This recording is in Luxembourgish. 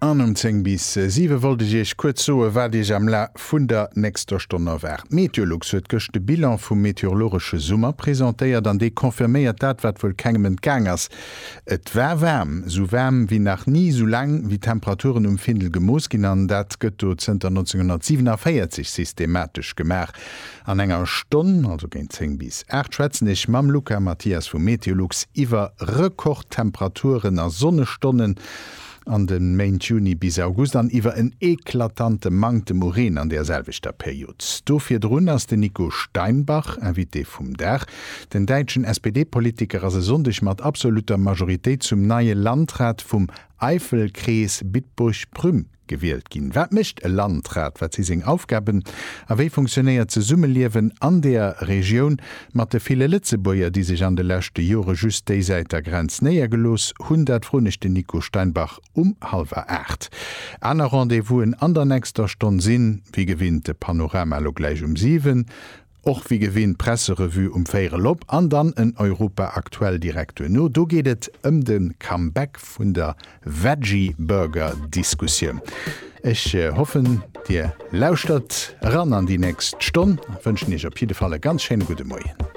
An um 10 bis 7 wollt ech Iech kuerz soe wat Iech am Laf vun der nächster Stonn erwaart. Meteolux huet gëscht de Bilan vum meteorologesche Summer presentéiert an dee confirméiert dat, wat wuel kengem entgaang ass, Et war waarm, sou waarm wéi nach ni, sou laang wéi d'Temperaturen um Findel gemooss ginn an dat gëtt do zënter 1947 systematesch gemaach. An enger Stonn, also géint 10 bis 8, schwätzen ech mam Luca Mathias vu Meteolux iwwer Rekordtemperaturen a Sonnestonnen an de Méint Juni bis August an iwwer en eklatante Manktem u Reen an där selwechter Period. Do virdrun ass den Nico Steinbach Invité vum Dag. Den däitschen SPD-Politiker ass e Sonndeg mat absolutter Majoritéit zum neie Landrat vum Eifelkrees Bitburg-Prüm gewielt ginn. Wat mécht e Landrat, wat si seng Aufgaben a wéi funktionéiert d'Zesummeliewen an deeër Regioun mat de ville Lëtzebuerger, déi sech an de leschte Jore just déi Säit der Grenz néiergelooss hunn? Dat froen ech den Nico Steinbach um hallwer 8. Aner Rendez-vousen an der nächster Stonn sinn, wéi gewinnt, de Panorama elo gläich um 7, Och wéi gewinnt d'Presserevue um véierel op an dann en Europa Aktuell direkt duerno. Do geet et ëm de Comeback vun der Veggie-Burger-Diskussioun. Ech hoffen dir lauschtert eran an déi nächst Stonn a wënschen iech op jidde Fall e ganz schéine gudde Moien.